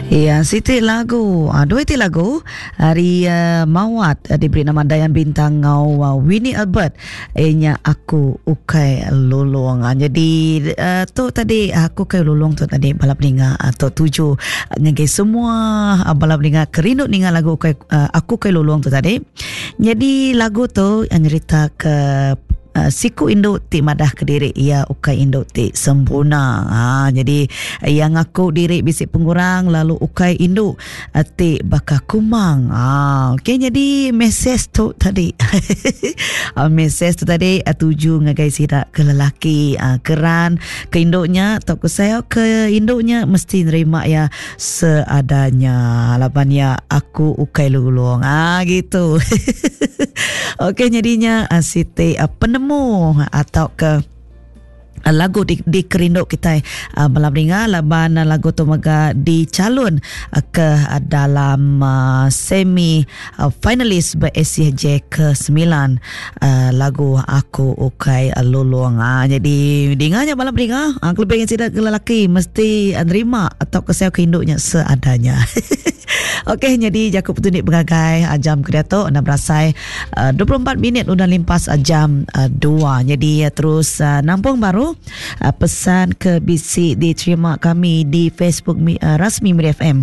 Iya, siti lagu, ah, dua iti lagu ari uh, Mawat uh, diberi nama Dayan Bintang ngau uh, Winnie Albert iya nya aku ukai lulung. Uh, jadi uh, tu tadi aku ukai lulung tu tadi bala peninga uh, tu tuju ngagai semua uh, bala peninga kerindu ninga lagu ukai uh, aku ukai lulung tu tadi. Jadi lagu tu uh, nyerita ke Uh, siku indu ti madah ke diri iya ukai indu ti sempurna. Ha, jadi iya ngaku diri bisi pengurang lalu ukai indu uh, ti baka kumang. Ha, okey jadi mesej tu tadi. uh, mesej tu tadi uh, tuju ngagai sida ke lelaki uh, keran ke indunya atau ke saya ke indunya mesti nerima ya seadanya laban ya aku ukai lulung. Ah gitu. Okey jadinya ah, siti ah, penemu atau ke ah, lagu di, dikerindu kita uh, malam ninga laban lagu tu mega dicalon uh, ke uh, dalam uh, semi uh, finalis BSCJ ke-9 uh, lagu Aku Ukai Lulung. Uh, jadi dinganya malam ninga uh, kelebih yang sida ke lelaki mesti nerima atau ke saya ke induknya seadanya. Okey, jadi jaku petunjuk pengagai ah, jam ke diatu enda berasai 24 minit udah limpas ah, jam 2. Ah, jadi terus nampung baru pesan ke bisi diterima kami di Facebook rasmi Miri FM.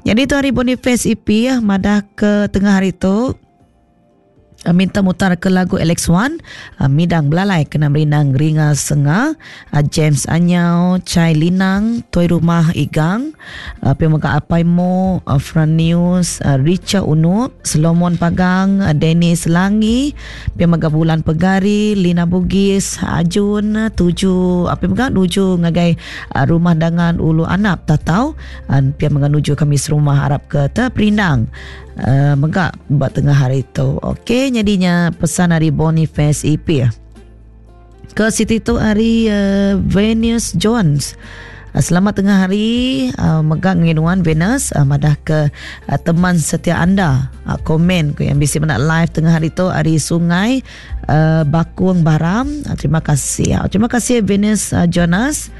Jadi tu hari Boniface EP madah ke tengah hari tu Eh, minta mutar ke lagu Alex Wan eh, Midang Belalai kena merindang Ringa Senga eh, James Anyau Chai Linang Tuai Rumah Igang Pia mega Apai Mo Fran News Richard Unup Solomon Pagang Dennis Langi Pia mega Bulan Pegari Lina Bugis Ajun tuju pia mega nuju ngagai Rumah Dangan Ulu Anap Tatau pia mega nuju kami serumah arap ke terperindang uh, mega ba tengah hari tu. Okey, jadinya pesan hari Boniface EP. Ke siti tu hari uh, Venus Jones. Uh, selamat tengah hari uh, mega nginuan Venus uh, madah ke uh, teman setia anda uh, komen ke yang bisi menak live tengah hari tu hari Sungai uh, Bakung Baram. Uh, terima kasih. Uh, terima kasih Venus uh, Jonas.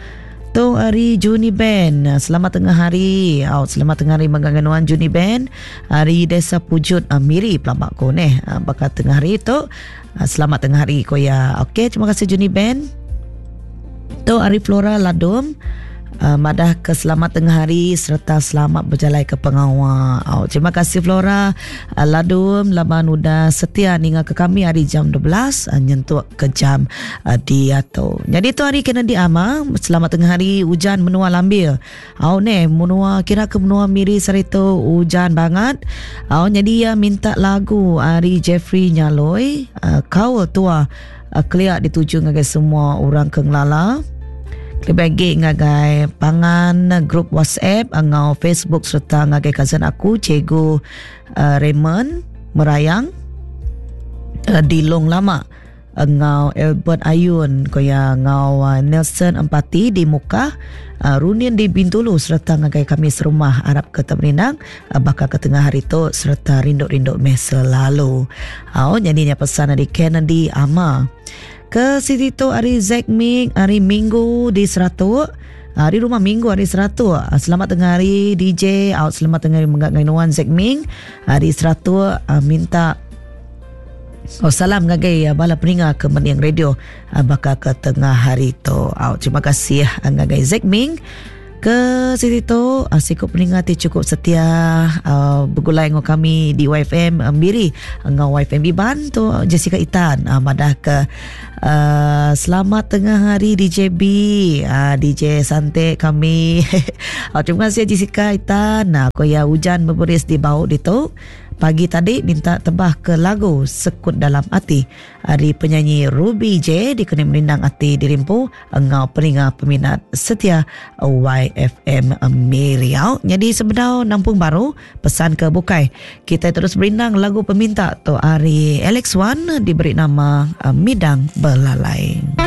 Tu hari Juni Ben. Selamat tengah hari. Oh, selamat tengah hari menggangan Juni Ben. Hari Desa Pujut uh, Miri pelambak ko neh. Uh, bakal tengah hari tu. Uh, selamat tengah hari ko ya. Okey, terima kasih Juni Ben. Tu hari Flora Ladum. Madah ke selamat tengah hari serta selamat berjalai ke pengawa. Oh, terima kasih Flora uh, Ladum laban udah setia ninga ke kami hari jam 12 uh, nyentuk ke jam uh, diatu. Jadi tu hari kena diama selamat tengah hari hujan menua lambil. Oh ne menua kira ke menua Miri saritu hujan banget. Oh jadi ya minta lagu hari Jeffrey Nyaloi uh, kau tua uh, keliak dituju ngagai semua orang ke ngelala. Kelebih agi ngagai pangan grup WhatsApp enggau Facebook sereta ngagai cousin aku Cikgu uh, Raymond Merayang uh, di Long Lama enggau Albert Ayun ko iya enggau uh, Nelson Empati di Mukah uh, Runin di Bintulu sereta ngagai kami serumah arap ke temerindang uh, baka ke tengah hari tu sereta rindu-rindu meh selalu. Au nyadi nya pesan ari Kennedy Ama. Ke siti tu hari Zack Ming hari Minggu di Seratuk. Hari rumah Minggu hari Seratuk. Ah, selamat tengah hari DJ out selamat tengah hari menggat ngai nuan Zack Ming. Hari Seratuk ah, minta Oh, salam ngagai ah, bala peninga ke mending radio baka ke tengah hari tu. Out terima kasih ngagai Zack Ming. Ke siti tu uh, siku peninga ti cukup setia uh, begulai enggau kami di YFM uh, Miri enggau YFM Iban tu Jessica Itan uh, madah ke uh, selamat tengah hari DJ B uh, DJ Sante kami. uh, terima kasih Jessica Itan. Uh, ko ya hujan berberis di bau ditu. Pagi tadi minta tebah ke lagu Sekut Dalam Ati ari penyanyi Ruby J dikena merindang ati dirimpu enggau peninga peminat setia YFM Miriau. Jadi sebedau nampung baru pesan ke bukai. Kita terus berindang lagu peminta tu ari Alex Wan diberi nama Midang Belalai.